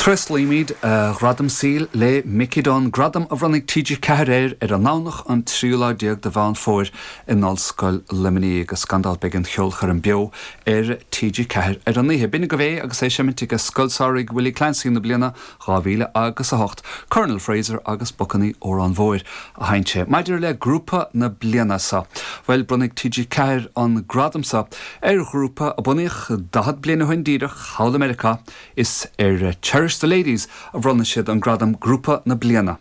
Tréaslaímid a ghradam saoil le Mickey Dunne, gradam a bhronnfaidh TG4 air ar an nDomhnach an tríú lá déag de Mheán Fómhair in Ollscoil Luimnigh agus gan dabht beidh an cheolchoirm beo ar TG4 ar an oíche. B'in agaibh é agus é ag seimint ag Scoil Samhraidh Willie Clancy na bliana 2000 agus 8, Colonel Fraser agus Bacainní Órán Mhóir a sheinn sé. Maidir le Grúpa na Bliana seo, bhuel bronnfaidh TG4 an gradam seo ar ghrúpa a bunaíodh 40 bliain ó shin díreach thall i Meiriceá, Is ar Cherish the Ladies a bhronnfaidh siad an gradam Grúpa na Bliana.